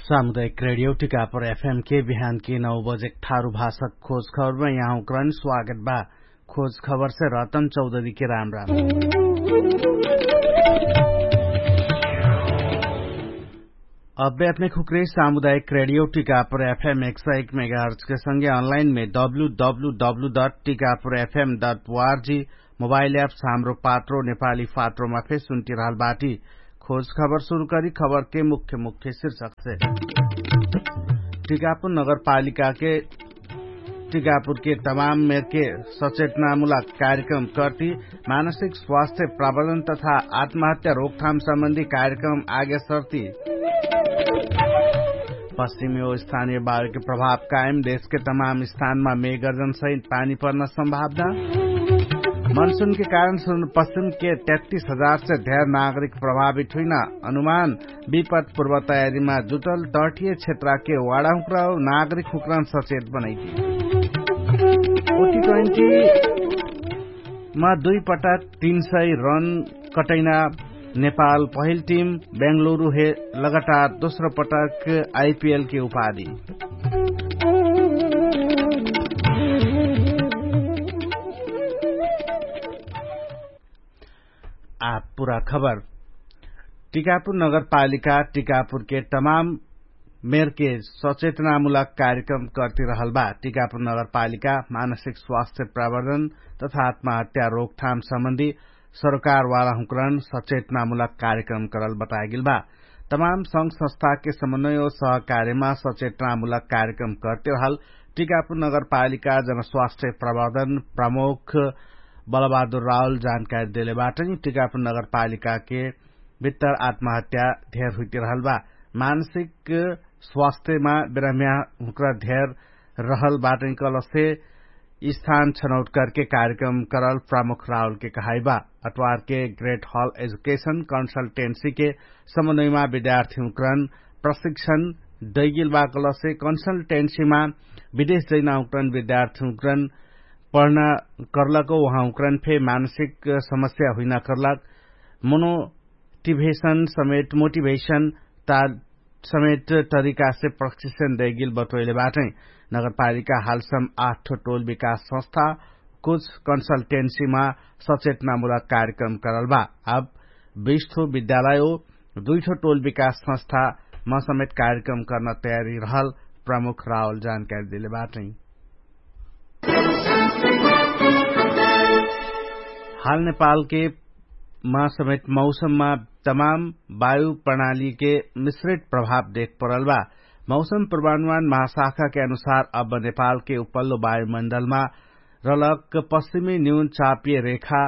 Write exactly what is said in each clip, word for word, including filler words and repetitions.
सामुदायिक रेडियो टिकापुर एफएम के बिहान के नौ बजे ठारु भाषक खोज खबरमा यहाँ उक्रान स्वागत बा। खोज खबर से रतन चौधरी के राम राम। अब्बे अपने खुक्रे सामुदायिक रेडियो टिकापुर एफएम एक सौ एक मेगाहर्च के संगे अनलाइन में W W W dot Tikapur FM dot ORG mobile apps Hamro Patro नेपाली फात्रोमा फे सुन्टिरहल बाटी। खोज खबर सुरु करी खबर के मुख्य मुख्य शीर्षक से। टिकापुर नगरपालिका के टिकापुर के तमाम मेर के सचेतनामुलक कार्यक्रम कर्ति मानसिक स्वास्थ्य प्रबन्धन तथा आत्महत्या रोकथाम सम्बन्धी कार्यक्रम आगे सर्ति। पश्चिमी ओ स्थानीय बाढ के प्रभाव कायम देश के तमाम स्थानमा मेगर्जन सहित पानी पर्न सम्भावना। मनसुन के कारण सुन पश्चिम के तैतिस हजार से धेर नागरिक प्रभावित हुइन अनुमान। विपत पूर्व तयारीमा जुटल तटिय क्षेत्र के वाडा हुक्रा नागरिक हुक्रान सचेत बनैती। ओटी ट्वेन्टी मा दुई पटक तीन सय रन कटैना नेपाल पहिल टिम बेङ्गलुरु हे लगातार दोस्रो पटक आइपिएल के उपाधि। आ पुरा खबर। टिकापुर नगरपालिका टिकापुर के तमाम मेर के सचेतनामुलक कार्यक्रम कर्तिरहल बा। टिकापुर नगरपालिका मानसिक स्वास्थ्य प्रवर्धन तथा आत्महत्या रोकथाम सम्बन्धी सरकारवाला हुँकरण सचेतनामुलक कार्यक्रम करल बताएगिल बा। तमाम संग संस्था के समन्वय ओ सहकार्यमा सचेतनामुलक कार्यक्रम कर्तिरहल टिकापुर नगरपालिका जनस्वास्थ्य प्रवर्धन प्रमुख बलबहादुर रावल जानकारी देले बाटनी। टिकापुर नगरपालिका के भित्तर आत्महत्या धेर हुइतिरहल बा। मानसिक स्वास्थ्यमा बिराम्या हुँक्रा धेर रहल बाटनी कलसे स्थान छनौट करके कार्यक्रम करल प्रमुख रावल के कहाइबा। अटवार के ग्रेट हल एजुकेशन कन्सल्टेन्सी के समन्वयमा विद्यार्थी हुँक्रन प्रशिक्षण दैगिल बा कलसे कन्सल्टेन्सीमा विदेश जैना हुँक्रन विद्यार्थी हुँक्रन पढ्ना कर्लक उहाँ हुँक्रन फे मानसिक समस्या हुइना कर्लक मोनो टिभेशन समेत मोटिभेशन ता समेत तरिकासे प्रशिक्षण दैगिल बटोइले बाटै। नगरपालिका हालसम आठ टोल विकास संस्था कुछ कन्सल्टेन्सीमा सचेतनामुलक कार्यक्रम करलबा। अब बिस ठो विद्यालय ओ दुइ ठो टोल विकास संस्था मा समेत कार्यक्रम कर्न तयारी रहल प्रमुख रावल जानकारी देले बाटै। हाल नेपालके मा समेत मौसममा तमाम वायु प्रणालीके मिश्रित प्रभाव देख परल बा। मौसम प्रमाणमान महाशाखाके अनुसार अब नेपालके उपल्लो वायुमण्डलमा रलक पश्चिमी न्यून चापिय रेखा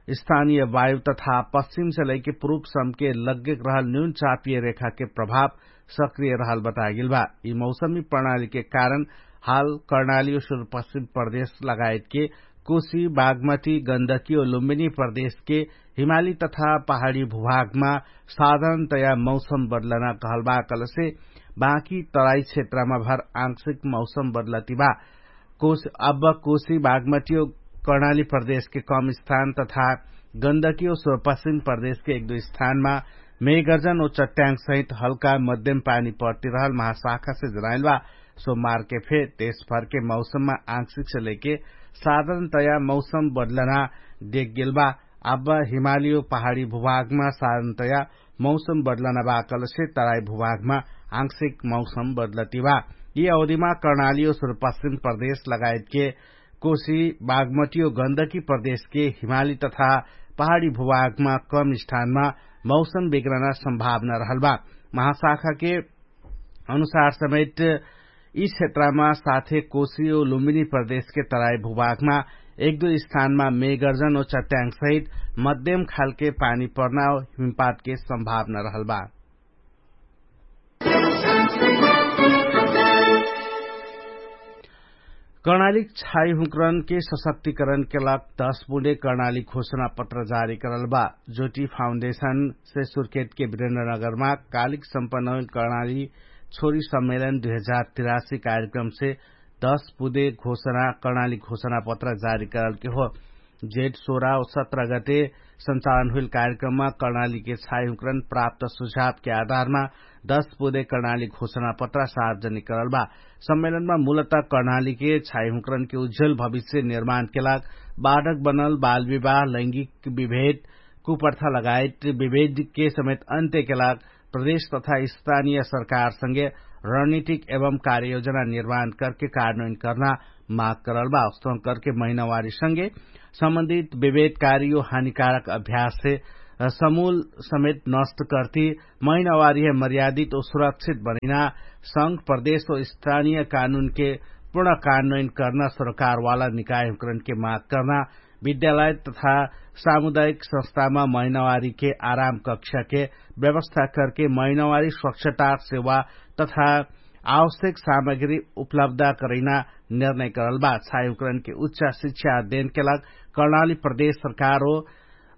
स्थानीय वायु तथा पश्चिमसे लैके पुरुपसमके लग्गेक रहल न्यून चापिय रेखाके प्रभाव सक्रिय रहल बतागेल बा। यि मौसमी प्रणालीके कारण हाल कर्णाली ओ सुरुपश्चिम प्रदेश लगायतके कोशी बागमती गन्दकी ओ लुम्बिनी प्रदेशके हिमाली तथा पहाडी भुभागमा साधारणतया मौसम बदलना कहलबा कलसे बाँकी तराई क्षेत्रमा भर आंशिक मौसम बदलतिबा। कोशी अब कोशी बागमती ओ कर्णाली प्रदेशके कम स्थान तथा गन्दकी ओ सुरुपश्चिम प्रदेशके एक दुइ स्थानमा मेगर्जन ओ चट्याङ्गसहित हल्का मध्यम पानी पर्तिरहल महाशाखासे जनाइलबा। सोमबारके फे देशभरके मौसममा आंशिकसे लैके साधारणतया मौसम बदलना देख्गेलबा। अब हिमाली ओ पहाडी भुभागमा साधारणतया मौसम बदलना बा कलसे तराई भुभागमा आंशिक मौसम बदलतिबा। यि अवधिमा कर्णाली ओ सुरुपश्चिम प्रदेश लगायतके कोशी बागमती ओ गन्दकी प्रदेशके हिमाली तथा पहाडी भुभागमा कम स्थानमा मौसम बिग्रना सम्भावना रहलबा। महाशाखाके अनुसार समेत यि क्षेत्रमा साथे कोशी ओ लुम्बिनी प्रदेशके तराई भुभागमा एक दुइ स्थानमा मेगर्जन ओ चट्याङ्गसहित मध्यम खालके पानी पर्ना ओ हिमपातके सम्भावना रहलबा। कर्णाली छाई हुँकरनके सशक्तिकरणके लाग दश बुँडे कर्णाली घोषणा पत्र जारी करलबा। ज्योटी फाउन्डेशनसे सुर्खेतके विरेन्द्रनगरमा कालिक सम्पन्न कर्णाली छोरी सम्मेलन दुइ हजार तिरासी कार्यक्रमसे दश बुँडे घोषणा कर्णाली घोषणा पत्र जारी करलके हो। जेठ सोह्र औ सत्र गते सञ्चालन हुइल कार्यक्रममा कर्णालीके छाइहुँकरन प्राप्त सुझावके आधारमा दश पुदे कर्णाली घोषणापत्र सार्वजनिक करल बा। सम्मेलनमा मूलत कर्णालीके छाइहुँकरनके उज्जल भविष्य निर्माणके लाग बाढक बनल बालविवाह लैंगिक विभेद कुप्रथा लगायत विभेदके समेत अन्त्यके लाग प्रदेश तथा स्थानीय सरकारसँगे रणनीतिक एवं कार्ययोजना निर्माण करके कार्यान्वयन कर्ना माग करल बा। अस्तों करके महिनावारीसँगे सम्बन्धित विभेदकारी ओ हानिकारक अभ्याससे समूल समेत नष्ट कर्ति महिनावारीहे मर्यादित ओ सुरक्षित बनैना संघ प्रदेश ओ स्थानीय कानुनके पूर्ण कार्यान्वयन कर्ना सरकारवाला निकायहुँकरनके माग कर्ना विद्यालय तथा सामुदायिक संस्थामा महिनावारीके आराम कक्षाके व्यवस्था करके महिनावारी स्वच्छता सेवा तथा आवश्यक सामग्री उपलब्ध करैना निर्णय करल बा। छाइहुँकरनके उच्च शिक्षा अध्ययनके लाग कर्णाली प्रदेश सरकार हो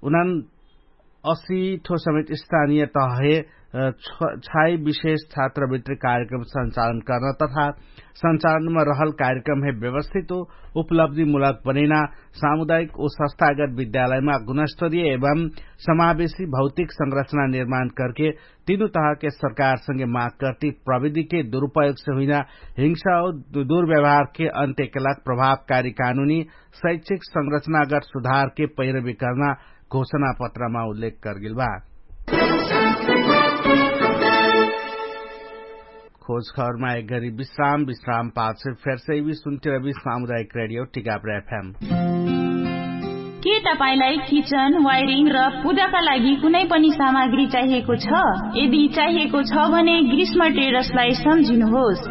उनन असी ठो समेत स्थानीय तहे छाइ विशेष छात्रवृत्ति कार्यक्रम सञ्चालन कर्न तथा सञ्चालनमा रहल कार्यक्रमहे व्यवस्थित उपलब्धिमूलक बनैना सामुदायिक ओ संस्थागत विद्यालयमा गुणस्तरीय एवं समावेशी भौतिक संरचना निर्माण करके तीनु तहके सरकारसँगे माग कर्ति प्रविधिके दुरुपयोगसे हुइना हिंसा ओ दुर्व्यवहारके अन्त्यके लाग प्रभावकारी कानुनी शैक्षिक संरचनागत सुधारके पैरवी कर्ना घोषणापत्रमा उल्लेख करगेल बा। खोजखबरमा एक घरी विश्राम विश्राम पाछ फेरसै भी सुन्तिरबी सामुदायिक रेडियो टिकाप्र एफएम। के तपाईंलाई किचन वायरिङ र पूजाका लागि कुनै पनि सामग्री चाहिएको छ? यदि चाहिएको छ भने ग्रीष्म ट्रेडर्सलाई सम्झिनुहोस्।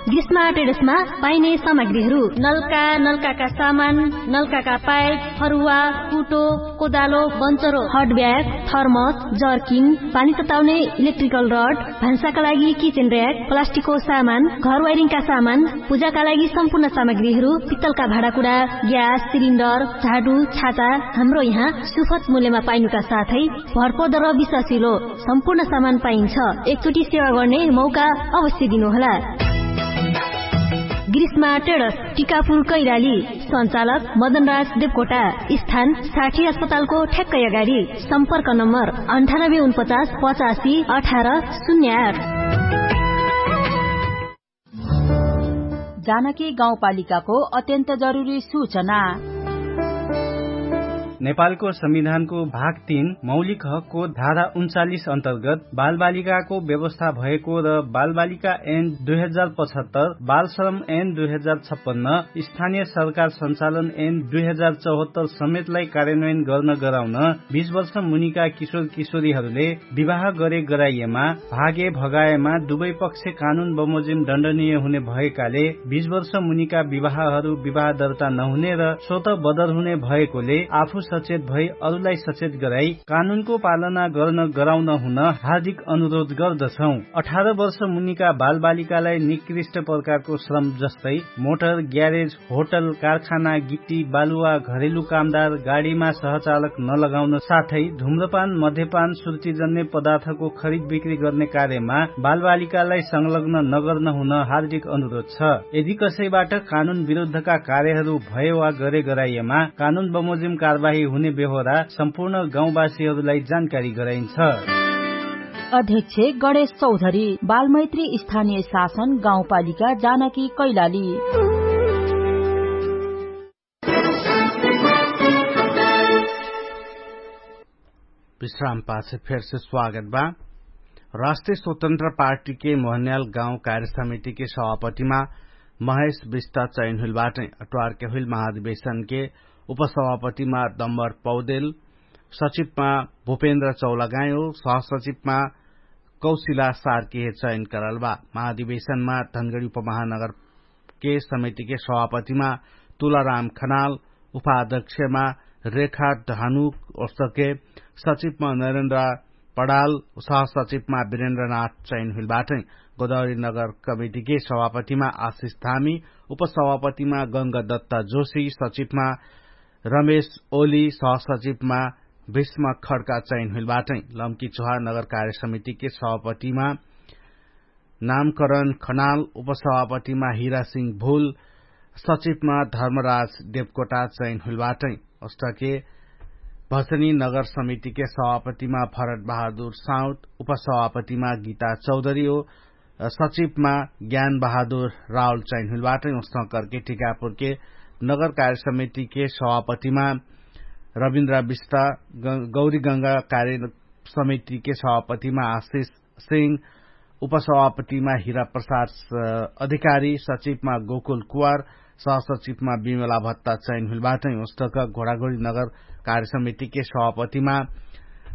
ग्रीष्म ट्रेडर्समा पाइने सामग्रीहरू नल्का नल्काका सामान, नल्काका पाइप, फरुवा, कुटो, कोदालो, बन्चरो, हट ब्याग, थर्मस, जर्किन, पानी तताउने इलेक्ट्रिकल रड, भान्साका लागि किचेन र्याक, प्लास्टिकको सामान, घर वाइरिङका सामान, पूजाका लागि सम्पूर्ण सामग्रीहरू, पित्तलका भाँडाकुडा, ग्यास सिलिन्डर, झाडु, छाता, हाम्रो यहाँ सुफत मूल्यमा पाइनुका साथै भरपर्दर विश्वासिलो सम्पूर्ण सामान पाइन्छ। एकचोटि सेवा गर्ने मौका अवश्य दिनुहोला। ग्रीष्मा टेडस, टिकापुर कैराली। सञ्चालक मदनराज देवकोटा। स्थान साठी अस्पतालको ठ्याक्कै अगाडि। सम्पर्क नम्बर अन्ठानब्बे उनपचास पचासी अठार शून्य आठ। जानकी गाउँपालिकाको अत्यन्त जरुरी सूचना। नेपालको संविधानको भाग तीन मौलिक हकको धारा उन्चालिस अन्तर्गत बालबालिकाको व्यवस्था भएको र बालबालिका ऐन दुई हजार पचहत्तर, बालश्रम ऐन दुई हजार छप्पन्न, स्थानीय सरकार सञ्चालन ऐन दुई हजार चौहत्तर समेतलाई कार्यान्वयन गर्न गराउन बीस वर्ष मुनिका किशोर किशोरीहरूले विवाह गरे गराइएमा, भागे भगाएमा दुवै पक्ष कानुन बमोजिम दण्डनीय हुने भएकाले बीस वर्ष मुनिका विवाहहरू विवाह दर्ता नहुने र स्वत बदर हुने भएकोले आफू सचेत भई अरूलाई सचेत गराई कानुनको पालना गर्न गराउन हुन हार्दिक अनुरोध गर्दछौं। अठार वर्ष मुनिका बालबालिकालाई निकृष्ट प्रकारको श्रम जस्तै मोटर, ग्यारेज, होटल, कारखाना, गिट्टी, बालुवा, घरेलु कामदार, गाडीमा सहचालक नलगाउन साथै धुम्रपान, मध्यपान, सुर्तिजन्य पदार्थको खरिद बिक्री गर्ने कार्यमा बालबालिकालाई संलग्न नगर्न हुन हार्दिक अनुरोध छ। यदि कसैबाट कानुन विरुद्धका कार्यहरू भए वा गरे गराइएमा कानुन बमोजिम कारवाही हुने बेहोरा सम्पूर्ण गाउँवासीहरूलाई जानकारी गराइन्छ। अध्यक्ष गणेश चौधरी, बालमैत्री स्थानीय शासन गाउँपालिका जानकी कैलाली। विश्राम पाछे फेरसे स्वागत बा। राष्ट्रिय स्वतन्त्र पार्टीके मोहन्याल गाउँ कार्य समितिके सभापतिमा महेश विष्ट चयन हुइल बाटै। अट्वारके हुइल महाधिवेशनके उपसभापतिमा दम्बर पौदेल, सचिवमा भूपेन्द्र चौलागायो, सहसचिवमा कौशिला सार्कीहे चयन करल बा। महाधिवेशनमा धनगडी उपमहानगरके समितिके सभापतिमा तुलाराम खनाल, उपाध्यक्षमा रेखा धानु ओस्तके, सचिवमा नरेन्द्र पडाल, सहसचिवमा वीरेन्द्रनाथ चयन हुइल बाटै। गोदावरी नगर कमिटिके सभापतिमा आशिष धामी, उपसभापतिमा गंगदत्त जोशी, सचिवमा रमेश ओली, सहसचिवमा भीष्म खड्का चयन हुइल बाटै। लम्की चोहा नगर कार्य समितिके सभापतिमा नामकरण खनाल, उपसभापतिमा हिरा सिंह भुल, सचिवमा धर्मराज देवकोटा चयन हुइलबाटै। उस्तके भसनी नगर समितिके सभापतिमा भरत बहादुर साउत, उपसभापतिमा गीता चौधरी हो, सचिवमा ज्ञान बहादुर राहुल चयन हुइलबाटै। उस्तकरके टिकापुरके नगर कार्य समितिके सभापतिमा रविन्द्र विष्टा, गौरीगंगा कार्य समितिके सभापतिमा आशिष सिंह, उपसभापतिमा हिरा प्रसाद अधिकारी, सचिवमा गोकुल कुवार, सहसचिवमा विमला भत्ता चयन हुइलबाटै। उस्तक घोडाघोडी नगर कार्य समितिके सभापतिमा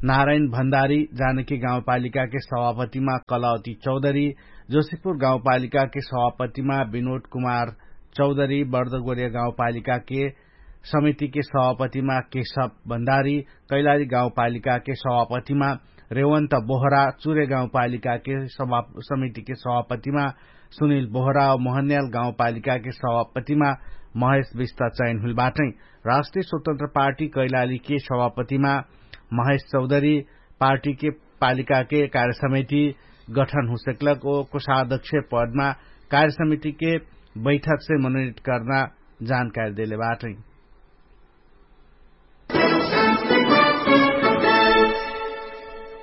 नारायण भण्डारी, जानकी गाउँपालिकाके सभापतिमा कलावती चौधरी, जोशीपुर गाउँपालिकाके सभापतिमा विनोद कुमार चौधरी, बर्दगोरिया गाउँपालिकाके समितिके सभापतिमा केशव भण्डारी, कैलाली गाउँपालिकाके सभापतिमा रेवन्त बोहरा, चुरे गाउँपालिकाके समितिके सभापतिमा सुनिल बोहरा, मोहन्याल गाउँपालिकाके सभापतिमा महेश विष्ट चयन हुइलबाटै। राष्ट्रिय स्वतन्त्र पार्टी कैलालीके सभापतिमा महेश चौधरी, पार्टीके पालिकाके कार्यसमिति गठन हुसेक्लक ओ कोषाध्यक्ष पदमा कार्यसमितिके बैठकसे मनोनित कर्ना जानकारी देले बाटै।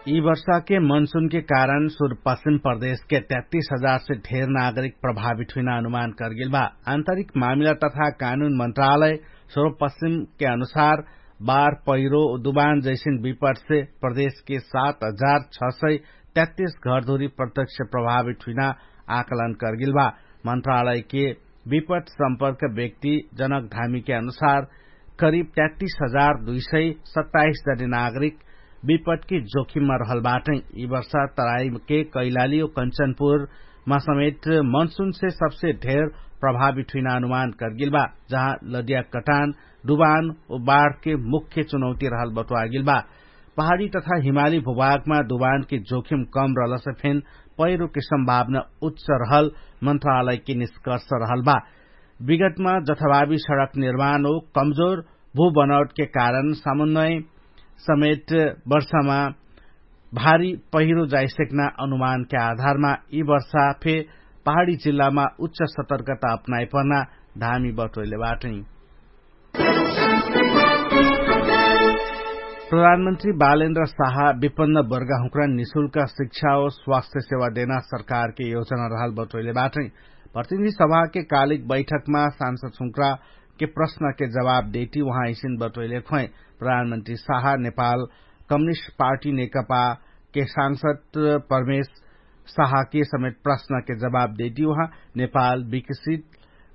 यी वर्षाके मनसुनके कारण सुरपश्चिम प्रदेशके तैतिस हजारसे ढेर नागरिक प्रभावित हुइना अनुमान करगेल बा। आन्तरिक मामिला तथा कानुन मन्त्रालय सुरपश्चिमके अनुसार बार पहिरो दुबान जैसिन विपटसे प्रदेशके सात हजार छ सय तैतिस घरधुरी प्रत्यक्ष प्रभावित हुइना आकलन करगेल बा। मन्त्रालयके विपट सम्पर्क व्यक्ति जनक धामीके अनुसार करिब तैतिस हजार दुई सय सत्ताइस जने नागरिक विपटके जोखिममा रहल बाटै। यी वर्षा तराईके कैलाली ओ कन्चनपुरमा समेत मनसुनसे सबसे ढेर प्रभावित हुइना अनुमान करगेल बा, जहाँ लदिया कटान दुबान ओ बाढके मुख्य चुनौती रहल बटुवागेल बा। पहाडी तथा हिमाली भुभागमा दुबानके जोखिम कम रहलसे फेन पहिरोके सम्भावना उच्च रहल मन्त्रालयके निष्कर्ष रहल बा। विगतमा जथाभावी सडक निर्माण ओ कमजोर भूबनौटके कारण समन्वय समेत वर्षामा भारी पहिरो जाइसेक्ना अनुमानके आधारमा यी वर्षा फे पहाडी जिल्लामा उच्च सतर्कता अपनाइ पर्ना धामी बटोइले बाटै। प्रधानमन्त्री बालेन्द्र साहा विपन्न वर्गाहुँक्रा निशुल्क शिक्षा ओ स्वास्थ्य सेवा देना सरकारके योजना रहल बटोइले बाटै। प्रतिनिधि सभाके कालिक बैठकमा सांसद हुँक्राके प्रश्नके जवाब देइटी उहाँ इसिन बटोइले खोइ। प्रधानमन्त्री साहा नेपाल कम्युनिस्ट पार्टी नेकपाके सांसद परमेश साहाके समेत प्रश्नके जवाब देइटी उहाँ नेपाल विकसित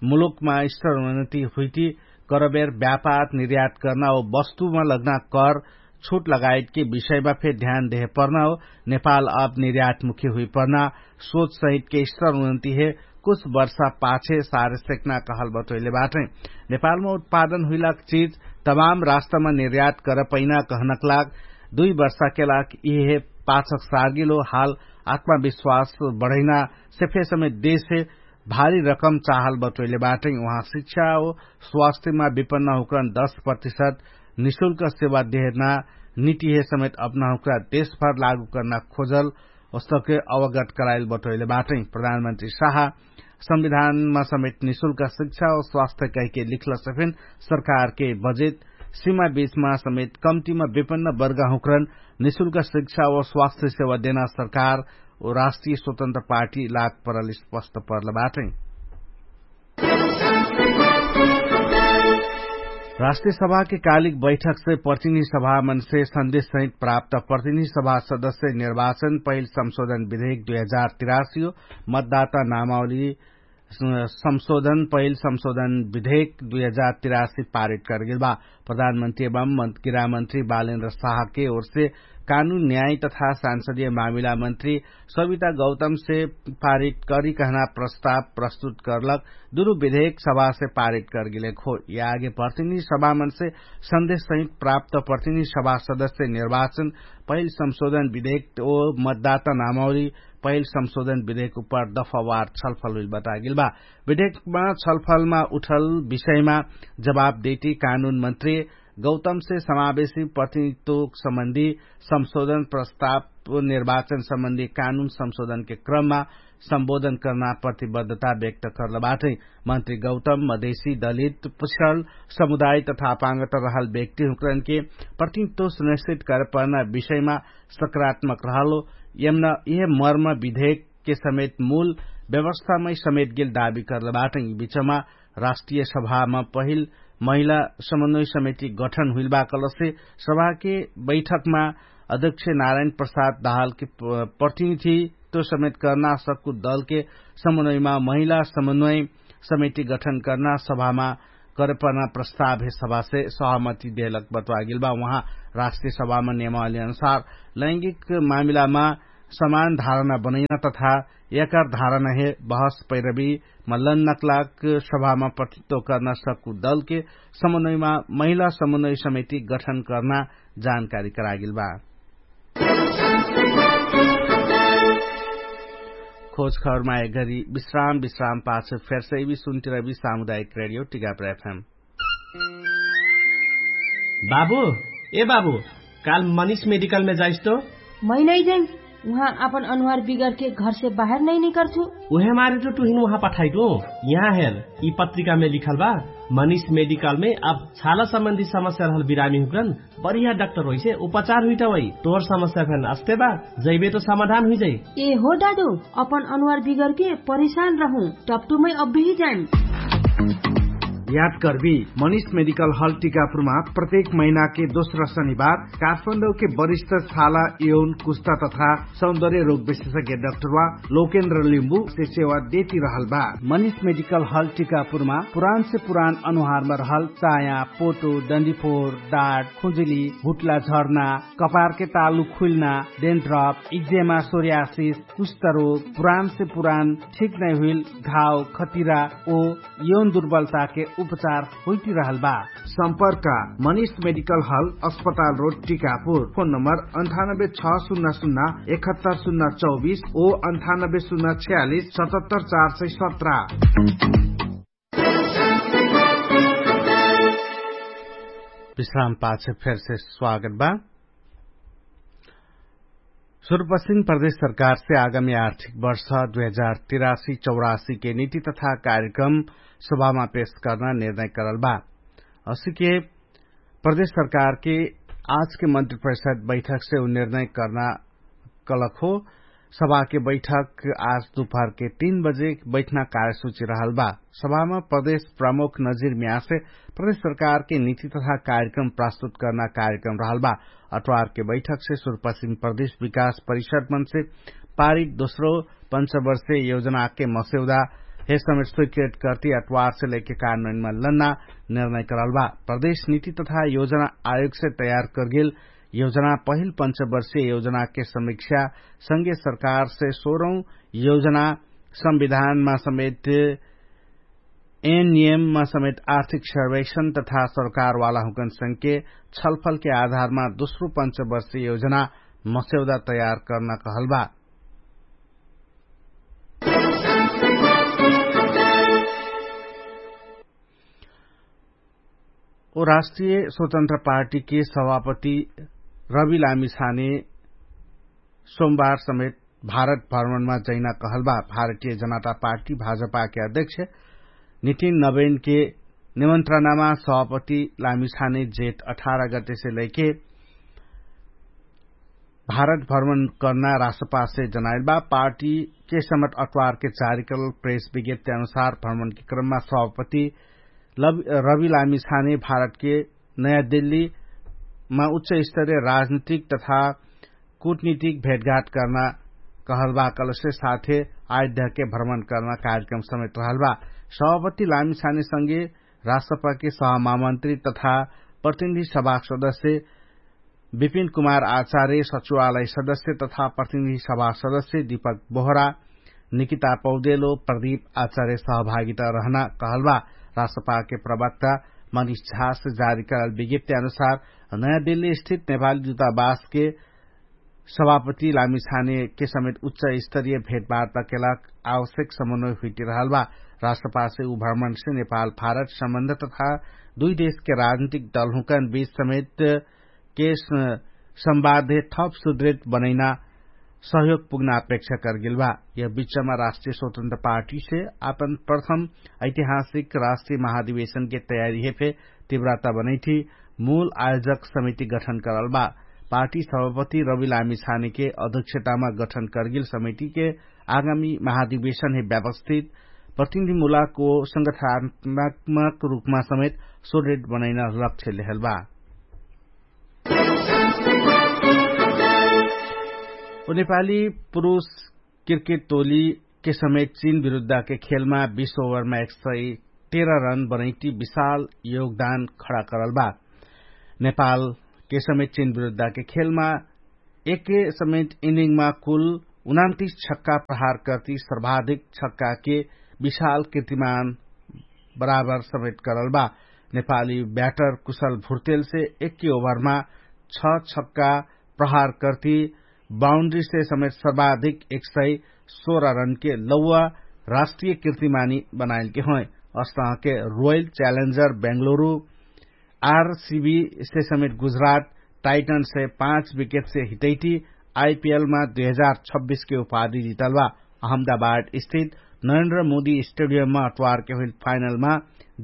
मुलुकमा स्तर उन्नति हुइटी करबेर व्यापार निर्यात कर्ना ओ वस्तुमा लग्ना कर छुट लगायतके विषयमा फे ध्यान देहे पर्ना ओ नेपाल अब निर्यातमुखी हुइपर्ना सोच सहितके स्तर उन्नति हे कुछ वर्षा पाछे सारे सेक्ना कहल बटोइले बाटै। नेपालमा उत्पादन हुइलाक चिज तमाम राष्ट्रमा निर्यात करपैना कहनक लाग दुइ वर्षाके लाग इहे पाछक सार्गिलो हाल आत्मविश्वास बढैना सेफे समेत देशे भारी रकम चाहल बटोइले बाटै। उहाँ शिक्षा ओ स्वास्थ्यमा विपन्न हुँक्रन दश प्रतिशत निशुल्क सेवा देहना नितिहे समेत अपना हुँक्रा देशभर लागू कर्ना खोजल ओस्तके अवगत कराइल बटोइले बाटै। प्रधानमन्त्री साहा संविधानमा समेत निशुल्क शिक्षा ओ स्वास्थ्य कहिके लिखलसे फेन सरकारके बजेट सीमा बीचमा समेत कम्तिमा विपन्न वर्गाहुँक्रन निशुल्क शिक्षा ओ स्वास्थ्य सेवा देना सरकार ओ राष्ट्रिय स्वतन्त्र पार्टी लाग परल स्पष्ट पर्ल बाटै। राष्ट्रिय सभाके कालिक बैठकसे प्रतिनिधि सभामनसे सन्देश सहित प्राप्त प्रतिनिधि सभा सदस्य निर्वाचन पहिल संशोधन विधेयक दुई हजार तिरासी हो। मतदाता नामावली संशोधन पहिल संशोधन विधेयक दुई हजार तिरासी पारित करगेल बा। प्रधानमन्त्री एवं गिरामन्त्री बालेन्द्र साहके ओरसे कानुन न्याय तथा सांसदीय मामिला मन्त्री सविता गौतमसे पारित करी कहना प्रस्ताव प्रस्तुत करलक दुनु विधेयक सभासे पारित करगेले खो। यागे प्रतिनिधि सभामनसे सन्देश सहित प्राप्त प्रतिनिधि सभा सदस्य निर्वाचन पहिल संशोधन विधेयक ओ मतदाता नामावली पहिल संशोधन विधेयक उपर दफावार छलफल हुइल बतागेल बा। विधेयकमा छलफलमा उठल विषयमा जवाब देटी कानुन मन्त्री गौतमसे समावेशी प्रतिनिधित्व सम्बन्धी संशोधन प्रस्ताव उपनिर्वाचन सम्बन्धी कानुन संशोधनके क्रममा सम्बोधन कर्ना प्रतिबद्धता व्यक्त कर्लबाटै। मन्त्री गौतम मधेसी दलित पिछडल समुदाय तथा अपाङ्गत रहल व्यक्तिहुँकरनके प्रतिनिधित्व सुनिश्चित करपर्ना विषयमा सकारात्मक रहलो। यमन यह मर्म विधेयकके समेत मूल व्यवस्थामै समेत गेल दावी कर्लबाटै। यि बिचमा राष्ट्रिय सभामा पहिल महिला समन्वय समिति गठन हुइलबा कलसे सभाके बैठकमा अध्यक्ष नारायण प्रसाद दाहालके प्रतिनिधित्व समेत कर्ना सक्कु दलके समन्वयमा महिला समन्वय समिति गठन कर्ना सभामा करपर्ना प्रस्ताव हे सभासे सहमति देहलक बतवागेलबा। उहाँ राष्ट्रिय सभामा नियमावली अनुसार लैंगिक मामिलामा समान धारणा बनैना तथा यकर धारणा हे बहस पैरबी मल्लन नक्लाक सभामा प्रतित्व कर्ना सक्कु दलके समन्वयमा महिला समन्वय समिति गठन कर्ना जानकारी करागेलबा। खोज खबरमा एघरी विश्राम विश्राम पाछ फेरसैबी सुन्तिरबी सामुदायिक रेडियो टिगाप्र एफएम। बाबु, ए बाबु, काल मनिष मेडिकलमे जाइस तो? मै नै जाइम। उहाँ आपन अनुहार बिगरके घरसे बाहेर नै निकर्छु। उहे मारे तो टुहिन उहाँ पठाइटु। यहाँ हेर, यि पत्रिकामे लिखल बा, मनिष मेडिकलमे अब छाला सम्बन्धी समस्या रहल बिरामी हुकरन बढिया डाक्टर होइसे उपचार हुइटा वै। तोर समस्या फेन अस्ते बा, जैबे तो समाधान हुइजाइ। ए हो दादु, अपन अनुहार बिगरके परिशान रहु, टपटुमै अब्बेही जाइम। याद कर्बी, मनिष मेडिकल हल टिकापुरमा प्रत्येक महिनाके दोस्रा शनिबार काठमाडौके वरिष्ठ छाला यौन कुस्ता तथा सौन्दर्य रोग विशेषज्ञ डाक्टरवा लोकेन्द्र लिम्बुसे सेवा देति रहल बा। मनिष मेडिकल हल टिकापुरमा पुरानसे पुरान अनुहारमा रहल चाया, पोटो, डन्डीफोर, डाट, खुजुली, हुट्ला झर्ना, कपारके तालु खुइल्ना, डेन्ड्रप, इक्जेमा, सोर्यासिस, कुष्ठरोग, पुरानसे पुरान ठिक नै हुइल घाव, खतिरा ओ यौन दुर्बलताके उपचार होइतिरहल बा। सम्पर्क मनिष मेडिकल हल, अस्पताल रोड, टिकापुर। फोन नम्बर अन्ठानब्बे छ सुन्ना सुन्ना एकहत्तर सुन्ना चौबिस ओ अन्ठानब्बे सुन्ना छ्यालिस सतहत्तर चार सय सत्र। विश्राम पाछ फेरसे स्वागत बा। सुरुपश्चिम प्रदेश सरकारसे आगामी आर्थिक वर्ष दुई हजार तिरासी चौरासीके नीति तथा कार्यक्रम सभामा पेश कर्ना निर्णय करल बा। असिके प्रदेश सरकारके आजके मन्त्री परिषद बैठकसे उ निर्णय कर्ना कलक हो। सभाके बैठक आज दुपहरके तीन बजे बैठना कार्यसूची रहल बा। सभामा प्रदेश प्रमुख नजिर म्यासे प्रदेश सरकारके नीति तथा कार्यक्रम प्रस्तुत कर्ना कार्यक्रम रहल बा। अट्वारके बैठकसे सुरुपश्चिम प्रदेश विकास परिषद मनसे पारित दोस्रो पञ्चवर्षे योजनाके मस्यौदा हे समेट स्वीकृत कर्ति अट्वारसे लैके कानमैनमा लन्ना निर्णय करल बा। प्रदेश नीति तथा योजना आयोगसे तयार कर्गेल योजना पहिल पञ्चवर्षे योजनाके समीक्षा संगे सरकारसे सोरौं योजना संविधानमा समेट एनएममा समेत आर्थिक सर्वेक्षण तथा सरकारवाला हुकन संके छलफलके आधारमा दोस्रो पञ्चवर्षे योजना मस्यौदा तयार कर्ना कहल बा। ओ राष्ट्रिय स्वतन्त्र पार्टीके सभापति रवि लामिछाने सोमबार समेत भारत भ्रमणमा जैना कहल बा। भारतीय जनता पार्टी भाजपाके अध्यक्ष नितिन नबेनके निमन्त्रणामा सभापति लामिछाने जेठ अठार गतेसे लैके भारत भ्रमण कर्ना राष्ट्रपातसे जनाइल बा। पार्टीके समट अट्वारके जारी करल प्रेस विज्ञप्ति अनुसार भ्रमणके क्रममा सभापति रवि लामिछाने भारतके नयाँ दिल्लीमा उच्च स्तरीय राजनीतिक तथा कुटनीतिक भेटघाट कर्ना कहलबा कलसे साथे आइद्यहके भ्रमण कर्ना कार्यक्रम समेत रहलबा। सभापति लामिछाने संगे राष्ट्रपति सहमामन्त्री तथा प्रतिनिधि सभा सदस्य विपिन कुमार आचार्य सचिवालय सदस्य तथा प्रतिनिधि सभा सदस्य दीपक बोहरा निकिता पौदेलो प्रदीप आचार्य सहभागिता रहना कहलबा। राष्ट्रपाके प्रवक्ता मनिष झास जारी करल विज्ञप्ति अनुसार नयाँ दिल्ली स्थित नेपाली दुतावासके सभापति लामिछानेके समेत उच्च स्तरीय भेटवार्ताके लाग आवश्यक समन्वय हुइटिरहलबा। राष्ट्रपासे उ भ्रमणसे नेपाल भारत सम्बन्ध तथा दुइ देशके राजनीतिक दलहुँकन बीच समेत के संवादे थप सुदृत बनैना सहयोग पुग्न अपेक्षा करगेल बा। यह बिचमा राष्ट्रिय स्वतन्त्र पार्टीसे आपन प्रथम ऐतिहासिक राष्ट्रिय महाधिवेशनके तयारीहे फे तिव्रता बनैठी मूल आयोजक समिति गठन करल बा। पार्टी सभापति रविलामी छानेके अध्यक्षतामा गठन करगेल समितिके आगामी महाधिवेशनहे व्यवस्थित प्रतिनिधिमुलाको संगठनात्मक रूपमा समेत सोडेट बनैन लक्ष्य लेहल बा। ओ नेपाली पुरुष क्रिकेट टोलीके समेत चीन विरुद्धके खेलमा बीस ओभरमा एक सय तेह्र रन बनैटी विशाल योगदान खडा करल बा। नेपालके समेत चीन विरुद्धके खेलमा एके समेत इनिङमा कुल उनान्तिस छक्का प्रहार कर्ति सर्वाधिक छक्काके विशाल कीर्तिमान बराबर समेत करल बा। नेपाली ब्याटर कुशल भुर्तेलसे एके ओभरमा छ छक्का प्रहार कर्ति बाउन्ड्रीसे समेत सर्वाधिक एक सय सोह्र रनके लौवा राष्ट्रिय कीर्तिमानी बनाइलके होइ। अस्तहके रोयल च्यालेन्जर बेङ्गलुरु आरसिबीसे समेत गुजरात टाइटनसे पाँच विकेटसे हिटैटी आइपिएलमा दुई हजार छब्बिसके उपाधि जितल बा। अहमदाबाद स्थित नरेन्द्र मोदी स्टेडियममा अट्वारके हुइल फाइनलमा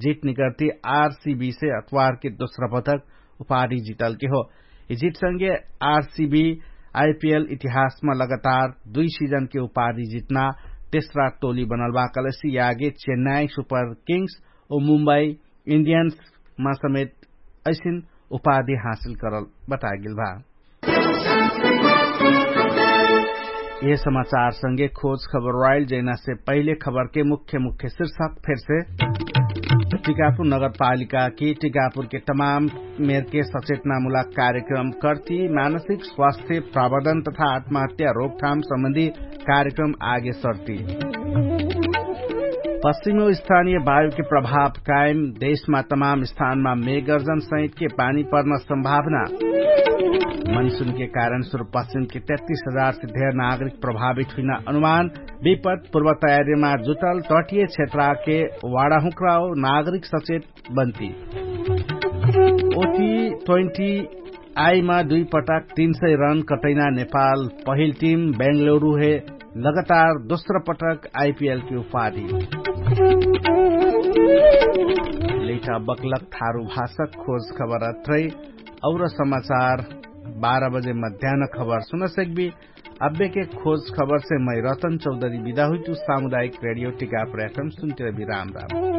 जित निकर्ति आरसिबीसे अट्वारके दोस्रा पटक उपाधि जितलके हो। यि जितसँगे आरसिबी आइपिएल इतिहासमा लगातार दुई सिजनके उपाधि जितना तेस्रा टोली बनल बा कलेसी यागे चेन्नाई सुपर किङ्स ओ मुम्बई इन्डियन्समा समेत ऐसिन उपाधि हासिल करल बतागेल भा। यह समाचारसँगे खोज खबर राइल जैनासे पहिले खबरके मुख्य मुख्य शिर्षक फेरसे टिकापुर नगरपालिकाकी टिकापुरके तमाम मेरके सचेतनामुलक कार्यक्रम कर्ति मानसिक स्वास्थ्य प्रवर्धन तथा आत्महत्या रोकथाम सम्बन्धी कार्यक्रम आगे सर्ति। पश्चिमी स्थानीय वायुके प्रभाव कायम देशमा तमाम स्थानमा मेगर्जन सहितके पानी पर्न सम्भावना। मनसुनके कारण सुरु पश्चिमके तेत्तिस हजार से धेर नागरिक प्रभावित हुइना अनुमान। विपद पूर्व तयारीमा जुटल तटिय क्षेत्रके वाडाहुँक्राओ नागरिक सचेत बन्ति। ओटी ट्वेन्टी आइमा दुई पटक तीन सय रन कटैना नेपाल पहिल टिम बेङ्गलुरु हे लगातार दोस्रो पटक आइपिएलके उपाधि। लेखा बक्लक थारु भाषक खोज खबर अत्रै। और समाचार बाह्र बजे मध्यान खबर सुनसक्बी। अब्बेके खोज खबरसे मै रतन चौधरी बिदा हुइतु सामुदायिक रेडियो टिका पर्याक्रम सुन्तिर बि राम राम।